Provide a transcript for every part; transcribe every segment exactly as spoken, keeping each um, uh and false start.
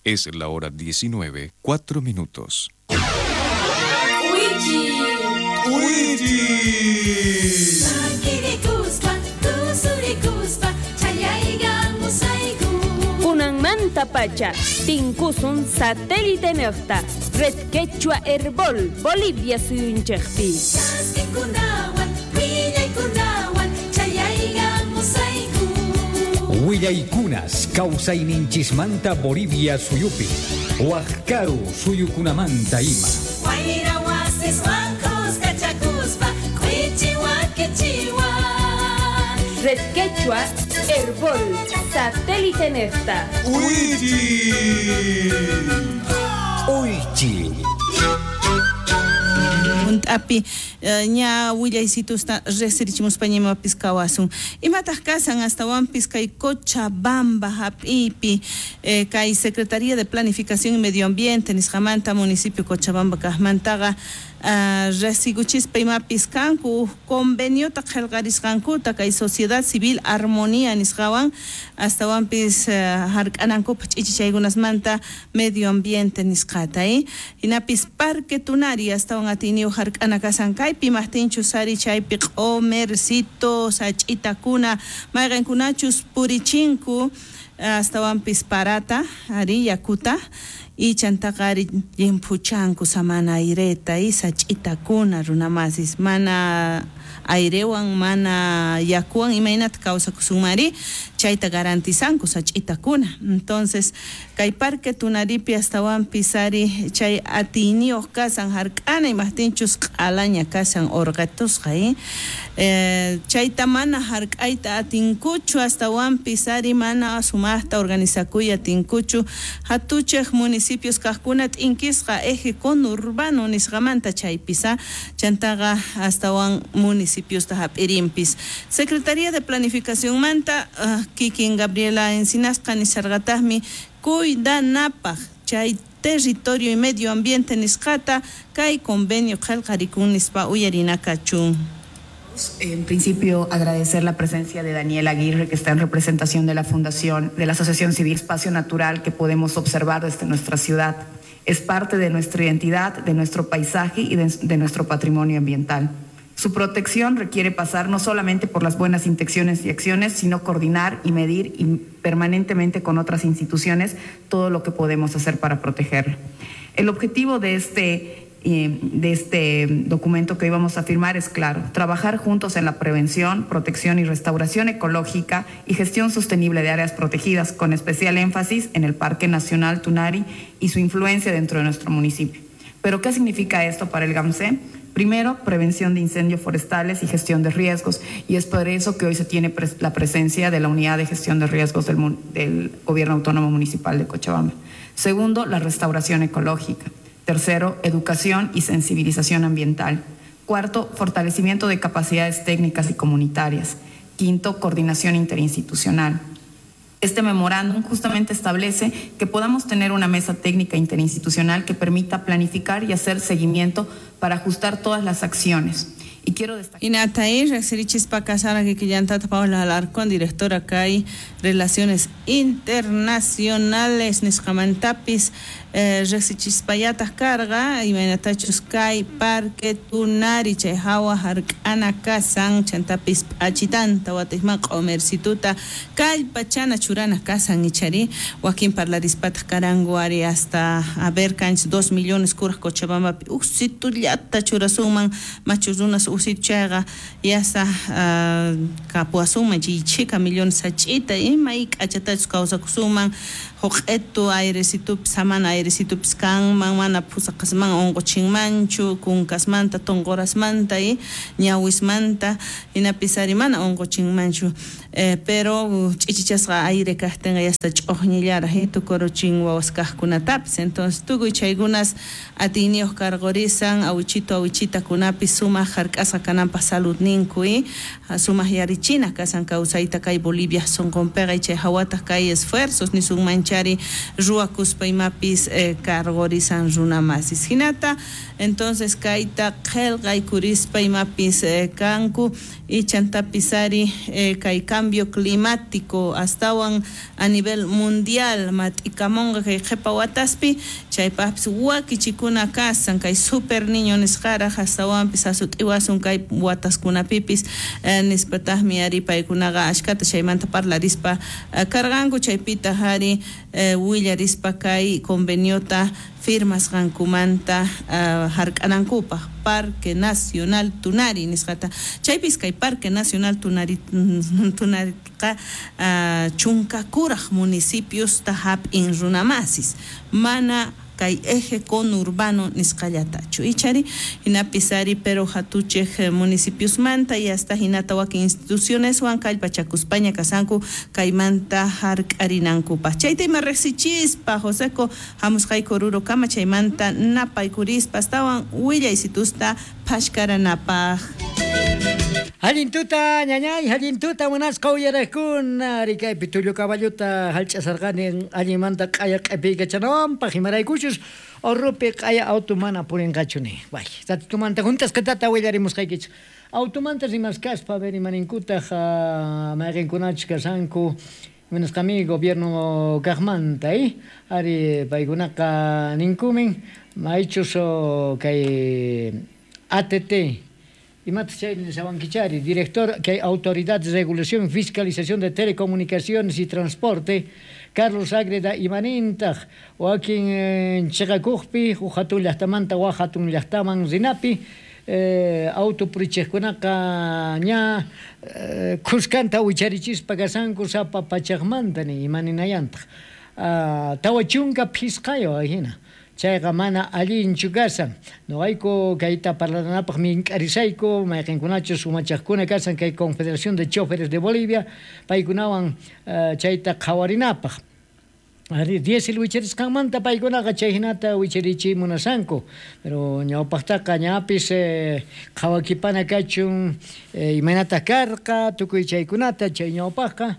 Es la hora diecinueve, cuatro minutos. Uichi. Kunanmanta pacha, tinkusun satélite nejta, Red Quechua Herbol, Bolivia suyunchejpi. Willaykunas kawsayninchismanta Bolivia suyupi, Wajkaru suyukunamanta ima. Red Quechua Herbol, satélite nefta. Uichi. Uichi. Api ña willaysitusta riqsirichimuspa ñimapis kawasun. Imataq kasan astawanpis kay Cochabamba hap'ipi kay Secretaría de Planificación y Medio Ambiente nisqamanta municipio Cochabamba kaqmantaqa riqsikuchispa imapis kanku conveniota qillqarisqankuta kay Sociedad Civil Armonía nisqawan astawanpis hark'anankupaq ch'ichichaykunasmanta medio ambiente nisqata. Hinapis Parque Tunari astawan atiyniyuq hark'ana kasan kaypi maqtinchus ari chaypi q'omercito sach'itakuna mayqinkunachus purichinku astawanpis parata ari yakuta y chantaqa ari llimphuchanku samana aireta y sach'itakuna runamasis mana airewan mana yakuwan imaynata kawsakusunmari chayta garantizanku sach'itakuna. Entonces kay Parque Tunaripi astawanpis ari chay atiyniyuq kasan hark'ana imaqtinchus q'alaña kasan urqatusqa eh? Eh, chayta mana hark'ayta atinkuchu astawanpis ari mana sumaqta organizakuy atinkuchu hatuchej municipios kaqkuna t'inkisqa eje conurbano nisqamanta chaypis chantaqa astawan municipios hap'irinpis. Secretaría de Planificación manta uh, kikin Gabriela Encinasqa nisarqataqmi kuydanapaq chay territorio y medio ambiente nisqata kay convenio qillqarikun nispa uyarinakachun. En principio, agradecer la presencia de Daniel Aguirre, que está en representación de la Fundación, de la Asociación Civil Espacio Natural que podemos observar desde nuestra ciudad. Es parte de nuestra identidad, de nuestro paisaje y de, de nuestro patrimonio ambiental. Su protección requiere pasar no solamente por las buenas intenciones y acciones, sino coordinar y medir y permanentemente con otras instituciones todo lo que podemos hacer para protegerlo. El objetivo de este, de este documento que hoy vamos a firmar es claro: trabajar juntos en la prevención, protección y restauración ecológica y gestión sostenible de áreas protegidas, con especial énfasis en el Parque Nacional Tunari y su influencia dentro de nuestro municipio. ¿Pero qué significa esto para el GAMCE? Primero, prevención de incendios forestales y gestión de riesgos, y es por eso que hoy se tiene pres- la presencia de la Unidad de Gestión de Riesgos del, del Gobierno Autónomo Municipal de Cochabamba. Segundo, la restauración ecológica. Tercero, educación y sensibilización ambiental. Cuarto, fortalecimiento de capacidades técnicas y comunitarias. Quinto, coordinación interinstitucional. Este memorándum justamente establece que podamos tener una mesa técnica interinstitucional que permita planificar y hacer seguimiento para ajustar todas las acciones. Y quiero destacar... Inatay, riqsirichispa kasara kikillantata Paola Alarcón, directora kay Relaciones Internacionales nisqamantapis eh, riqsichispallataq karqa imaynatachus kay Parque Tunari chay hawa hark'ana kasan chantapis p'achitanta watiqman q'omercituta kallpachana churana kasan ichari wakin parlarispataq karanku ari hasta a ver kanchis dos millones kuraq Cochabambapi uqsitullata churasunman machu runas uqsitu chayqa yasa uh, kapuwasunman chay chhika millones sach'ita ima k'achatachus kawsakusunman huq'etu airecitupis samana airecitupis kanman mana phusaqasman unquchinmanchu kunkasmanta tunqurasmanta y ñawismanta hinapis ari mana unquchinmanchu eh, pero ch'ichichasqa aire kaqtinqa yasta ch'uqñillaraq tukuruchin wawas kaqkunatapis. Entonces tukuy chaykunas atiyniyuq karqurisan awichito awichitakunapis sumaq hark'asqa kananpaq saludninku y sumaq yarichina kasan kawsayta kay Bolivia sunqunpiqa chay hawataq kay esfuerzos nisunmanchari ruwakuspa imapis chaytapis eh, karqurisan runamasis hinata entonces kayta qillqaykurispa imapis eh, kanku y chantapis ari eh, kay cambio climático astawan a nivel mundial mat'ikamunqa kay qhipa wataspi chaypaqpis wakichikuna kasan kay super niño nisqaraq astawanpis asut'iwasun kay wataskunapipis eh, nispataqmi ari paykunaqa ashkata chaymanta parlarispa eh, karqanku chaypitaq ari eh, willarispa kay conveniota firmasqankumanta uh, hark'anankupaq Parque Nacional Tunari nisqata chaypis kay Parque Nacional Tunari Tunariqa uh, chunka kuraq municipiosta hap'in runamasis mana kay eje conurbano nisqallatachu ichari hinapis ari pero hatuchej municipiosmanta y hasta hinata wakin institucioneswan kallpachakuspaña kasanku kaymanta hark'arinankupaq chayta ima riqsichispa Joseco hamusqayku Oruro kama chaymanta napaykurispa astawan willaysitusta phashkaranapaq. Allin tuta ñañay, allin tuta munasqa uyaraqkuna rikaypi tullu caballuta hallch'asarqani allinmanta q'aya q'epiykachanawanpaq imaraykuchus Orurupi q'aya auto mana purinqachu ni. Bay, ratitumanta juntasqatata willarimusqaykichik. Automanta rimaskaspa a ver imaninkutaq mayqinkunachus kasanku imanasqami gobierno kaqmanta eh ari paykunaqa ninkumin maychus kay A T T imata chay nishawankichari director que Autoridad de Regulación y Fiscalización de Telecomunicaciones y Transporte Carlos Agreda imanintaq wakin chiqakuqpi huk hatun llaqtamanta wak hatun llaqtaman rinapi eh, auto purichiqkunaqa ña eh, khuskanta wicharichispa kasanku sapa pachaqmanta ni imaninayantaq uh, tawa chunka phisqayo ahina chayqa mana allinchu kasan noqayku kayta parlanapaq mink'arisayku mayqinkunachus umachaqkuna kasan kay Confederación de Choferes de Bolivia paykunawan uh, chayta qhawarinapaq ari diésel wicharisqanmanta paykunaqa chay hinata wicharichiy munasanku pero ñawpaqtaqa ñapis eh, qhawakipana kachun eh, imaynataq karqa tukuy chaykunata chay ñawpaqqa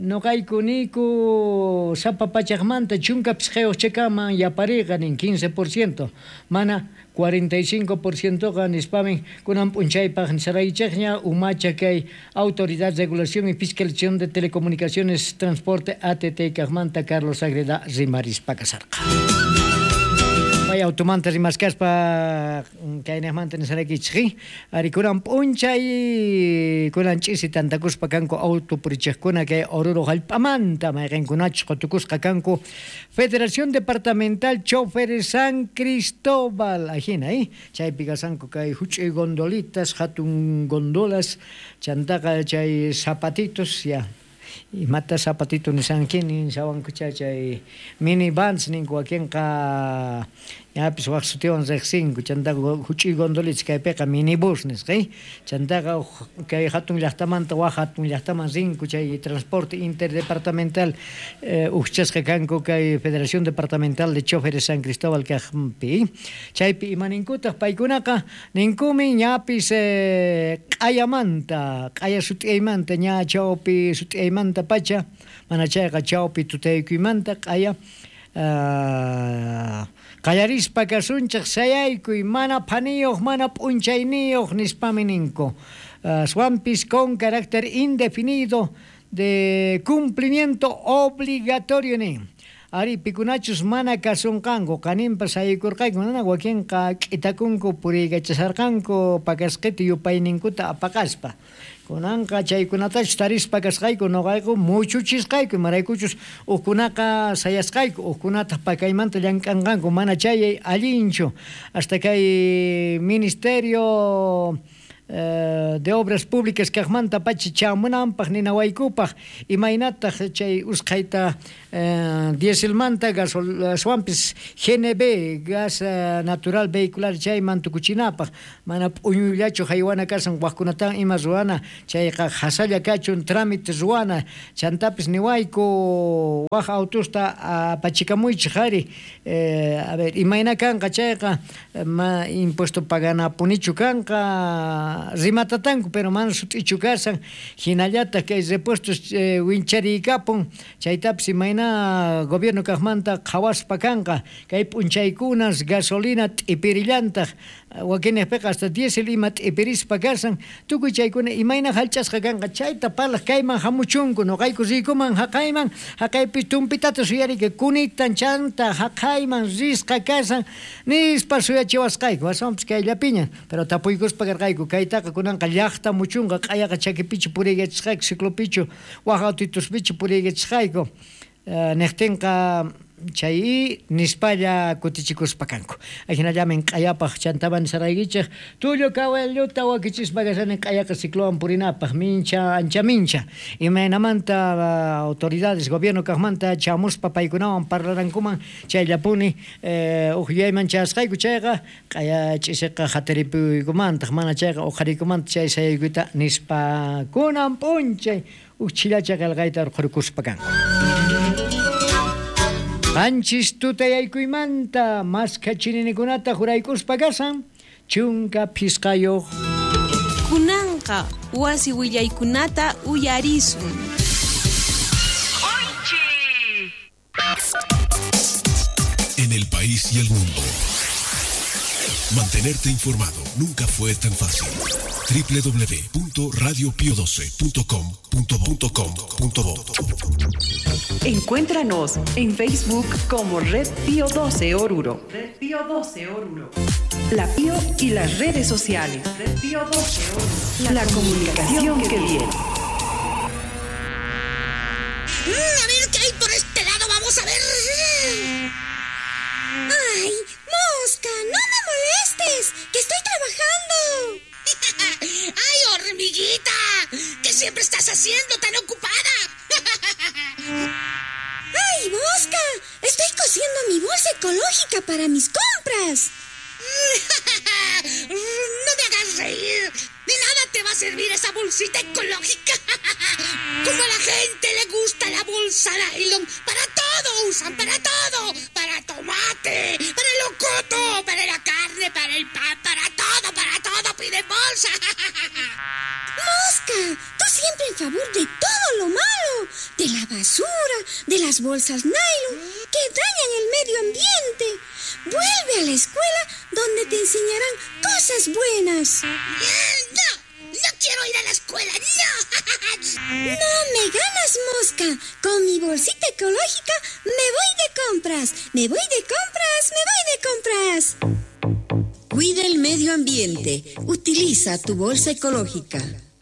noqayku niku sapa pachaqmanta chunka phisqayuq chakaman yapariqa nin quince por ciento mana cuarenta y cinco por ciento qa nispamin kunan p'unchaypaq nisaraychikña umacha kay Autoridad de Regulación y Fiscalización de Telecomunicaciones Transporte A T T kaqmanta Carlos Agreda rimarispa kasarqa. Pay automanta rimaskaspa kaynaqmanta nisaraykichik ari kunan p'unchay kunan ch'isi tantakuspa kanku auto purichiqkuna kay Oruro hallp'amanta mayqinkunachus qutukusqa kanku Federación Departamental Choferes San Cristóbal ajina eh chaypi kasanku kay huch'uy gondolitas hatun gondolas chantaqa chay zapatitos ya imata zapatito nisanki nishawanku chay chay minivans ninku wakinqa ñapis wak sutiwan riqsinku chantaqa huch'uy gondolitas kaypiqa minibus nisqa chantaqa kay hatun llaqtamanta wak hatun llaqtaman rinku chay transporte interdepartamental eh, ujchasqa kanku kay Federación Departamental de Choferes San Cristóbal kaqpi chaypi imaninkutaq paykunaqa ninkumi ñapis eh, q'ayamanta q'aya sut'iymanta ña chawpi sut'iymanta pacha mana chayqa chawpi tutaykuymanta q'aya uh, qallarispa kasunchik sayaykuy mana phaniyuq mana p'unchayniyuq nispami ninku aswanpis con carácter indefinido de cumplimiento obligatorio nin ari pikunachus mana kasunqanku qaninpas sayaykurqayku mana wakinqa k'itakunku puriykachasarqanku pakasqita yupayninkuta apaqaspa kunanqa chaykunatachus tarispa kasqayku noqayku muchuchisqayku imaraykuchus hukkunaqa sayasqayku hukkunataq pakaymanta llank'anqanku mana chay allinchu hasta kay ministerio de Obras Públicas kaqmanta pacha chamunanpaq ninawaykupaq imaynataq chay usqhayta eh, dieselmanta gaswanpis G N B gas natural vehicular chayman tukuchinapaq mana p'uñuyllachu haywana kasan waqkunatan ima ruwana chayqa hasalla kachun trámite ruwana chantapis niwayku waq autosta apachikamuychik ari eh, a ver imayna kanqa chayqa ma impuesto paganapunichu kanqa rimatatanku pero mana sut'ichu kasan hinallataq kay repuestos eh, wincharikapun chaytapis imayna gobierno kaqmanta qhawaspa kanqa kay p'unchaykunas gasolina t'ipirillantaq wakinejpiqa hasta diésel ima t'ipirispa kasan tukuy chaykuna imayna hallch'asqa kanqa chayta parlaq kayman hamuchunku noqayku riykuman haqayman haqaypi tumpitata suyarika kunitan chanta haqayman risqa kasan nispa suyachiwasqayku aswanpis kayllapiña pero tapuykuspa karqayku kaytaqa kunanqa llaqta muchunqa q'ayaqa chakipichu puriykachisqayku ciclopichu waj autituspichu puriykachisqayku niqtinqa chay nispalla kutichikuspa kanku ajinallamin q'ayapaq chantaman nisaraykichej tullu kawalluta wakichispa kasani q'ayaqa ciclowan purinapaq mincha ancha mincha imaynamanta autoridades gobierno kaqmanta chamuspa paykunawan parlarankuman chayllapuni eh, uj yuyayman chayasqayku chayqa q'aya ch'isiqa hataripuykumantaq mana chayqa uqhariykumanta chay sayaykuyta nispa kunan p'unchay uj chillacha qillqayta urqhurkuspa kanku. Qanchis tutayaykuymanta maskha chininikunata juraykuspa kasan chunka phisqayuq. Kunanqa wasi willaykunata uyarisun. En el país y el mundo, mantenerte informado nunca fue tan fácil. doble u doble u doble u punto radio pio doce punto com punto com punto bo. Encuéntranos en Facebook como Red Pío doce Oruro. Red Pío doce Oruro. La Pío y las redes sociales. Red Pío doce Oruro. La comunicación que viene. A ver qué hay por este lado, vamos a ver. Ay, mosca, no me molestes, que estoy trabajando. ¡Ay, hormiguita! ¿Qué siempre estás haciendo tan ocupada? ¡Ay, mosca! Estoy cosiendo mi bolsa ecológica para mis compras. ¡No me hagas reír! ¡De nada te va a servir esa bolsita ecológica! ¡Como a la gente le gusta la bolsa nylon! ¡Para todo usan! ¡Para todo! ¡Para tomate! ¡Para el locoto! ¡Para la carne! ¡Para el pan! ¡Para todo! ¡Para todo! ¡Piden bolsa! ¡Mosca! Tú siempre en favor de todo lo malo, de la basura, de las bolsas nylon que dañan el medio ambiente. Vuelve a la escuela donde te enseñarán cosas buenas. ¡No! ¡No quiero ir a la escuela! ¡No! ¡No me ganas, mosca! Con mi bolsita ecológica me voy de compras. ¡Me voy de compras! ¡Me voy de compras! Cuida el medio ambiente. Utiliza tu bolsa ecológica.